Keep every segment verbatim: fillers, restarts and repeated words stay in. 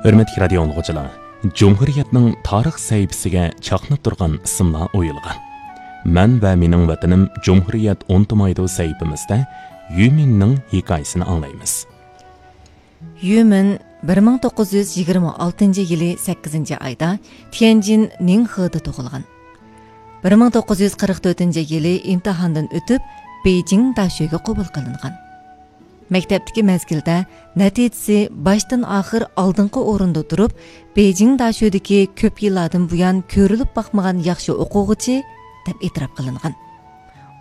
ھۆرمەتلىك رادىيو ئاڭلىغۇچىلار، جۇمھۇرىيەتنىڭ تارىخ سەھىپىسىگە چاقناپ تۇرغان ئىسىملار ئويۇلغان. مەن ۋە مېنىڭ ۋەتىنىم جۇمھۇرىيەت ئۇنتۇمايدۇ سەھىپىمىزدە يۈمىننىڭ ھېكايىسىنى ئاڭلايمىز. يۈمىن بىر مىڭ توققۇز يۈز يىگىرمە ئالتىنچى يىلى سەككىزىنچى ئايدا تيەنجىن نىڭخېدا تۇغۇلغان. بىر مىڭ توققۇز يۈز قىرىق تۆتىنچى يىلى ئىمتىھاندىن ئۆتۈپ، بېيجىڭ داشۆگە قوبۇل قىلىنغان. مەكتەپتىكى مەزگىلدە نەتىجىسى باشتىن ئاخىر ئالدىنقى ئورۇندا تۇرۇپ، بېيجىڭ داشۆدىكى كۆپ يىللاردىن بۇيان كۆرۈلۈپ باقمىغان ياخشى ئوقۇغۇچى، دەپ ئېتىراپ قىلىنغان.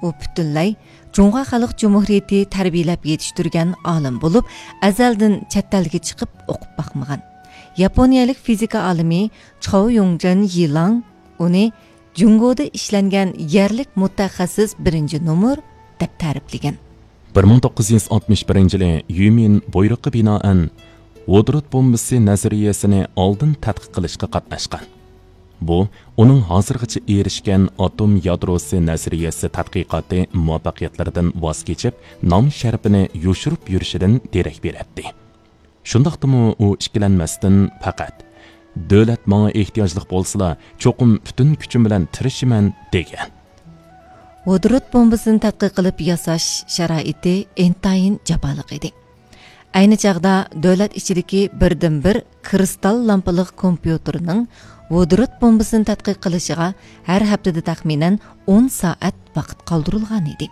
ئۇ پۈتۈنلەي جۇڭخۇا خەلق جۇمھۇرىيىتى تەربىيەلەپ يېتىشتۈرگەن ئالىم بولۇپ، ئەزەلدىن چەت ئەلگە چىقىپ ئوقۇپ باقمىغان. ياپونىيەلىك فىزىكا ئالىمى چاۋ يۇڭجېن يىلاڭ ئۇنى جۇڭگودا ئىشلەنگەن يەرلىك مۇتەخەسسىس بىرىنچى نومۇر دەپ تەرىپلىگەن. بىر مىڭ توققۇز يۈز ئاتمىش بىرىنچى يىلى يۈمىن بۇيرۇققا بىنائەن ۋودورود بومبىسى نەزەرىيەسىنى ئالدىن تەتقىق قىلىشقا قاتناشقان. بۇ ئۇنىڭ ھازىرغىچە ئېرىشكەن ئاتوم يادروسى نەزەرىيەسى تەتقىقاتى مۇۋەپپەقىيەتلىرىدىن ۋاز كېچىپ، نام شەرىپىنى يوشۇرۇپ يۈرۈشىدىن دېرەك بېرەتتى. شۇنداقتىمۇ ئۇ ئىككىلەنمەستىن پەقەت، «دۆلەت ماڭا ئېھتىياجلىق بولسىلا، چوقۇم پۈتۈن كۈچۈم بىلەن تىرىشىمەن» دېگەن. ۋودورود بومبىسىنى تەتقىق قىلىپ ياساش شارائىتى ئىنتايىن جاپالىق ئىدى. ئەينى چاغدا دۆلەت ئىچىدىكى بىردىنبىر كىرىستال لامپىلىق كومپيۇتېرنىڭ ۋودورود بومبىسىنى تەتقىق قىلىشىغا ھەر ھەپتىدە تەخمىنەن ئون سائەت ۋاقىت قالدۇرۇلغان ئىدى.